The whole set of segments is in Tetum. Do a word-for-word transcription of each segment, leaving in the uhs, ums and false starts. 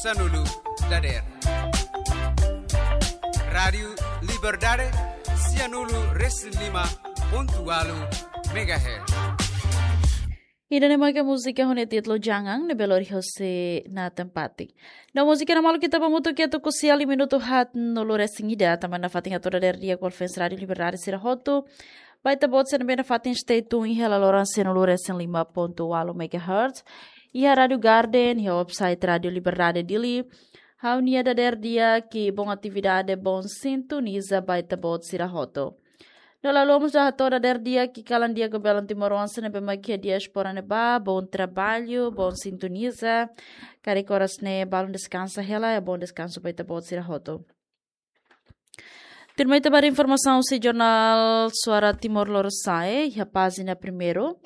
Sanulu dader. Rádiu Liberdade, sianulu resin lima pontu walu megahertz. Ida-ne'e maka múzika ho nia títulu Jangan, ne'ebé lori hosi Nathan Pati. No múzika ne'e malu ita ba hamutuk iha tuku sia liu minutu haat nulu resin ida, tanba nafatin atu dader di'ak ba ouvinte Rádiu Liberdade sira hotu. Ba ita-boot sira ne'ebé nafatin stay tune iha laloran sianulu resin lima pontu walu megahertz. Iha Rádiu Garden, iha website Rádiu Liberdade Dili. Ha'u-nia dader di'ak, bom atividade, bom sintoniza ba ita-boot sira hotu. No la haluha mós atu hato'o dader di'ak kalan di'ak ba belun timoroan sira ne'ebé mak iha diáspora ne'ebá, bom trabalho, bom sintoniza. Karik oras ne'e balun deskansa hela, bom deskansu ba ita-boot sira hotu. Tuirmai ita ba informasaun husi jornál Suara Timor Lorosa'e, iha pájina primeiru.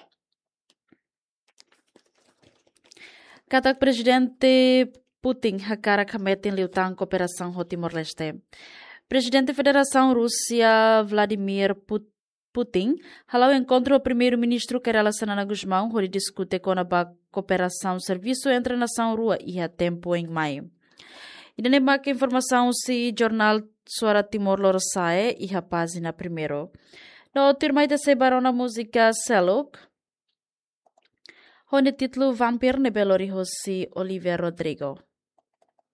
Katak Prezidente Putin hakarak hametin liután kooperasaun ho Timor-Leste. Prezidente Federasaun Rúsia Vladimir Put-, Putin hala'o enkontru ho Primeiru-Ministru Kay Rala Xanana Gusmão hodi diskute kona-ba kooperasaun servisu entre nasaun rua iha tempu oin mai. Ida-ne'e maka informasaun husi jornál Suara Timor Lorosa'e iha pájina primeiru. No tuirmai ita sei ba rona múzika seluk ho nia títulu Vampir ne'ebé lori hosi Oliver Rodrigo.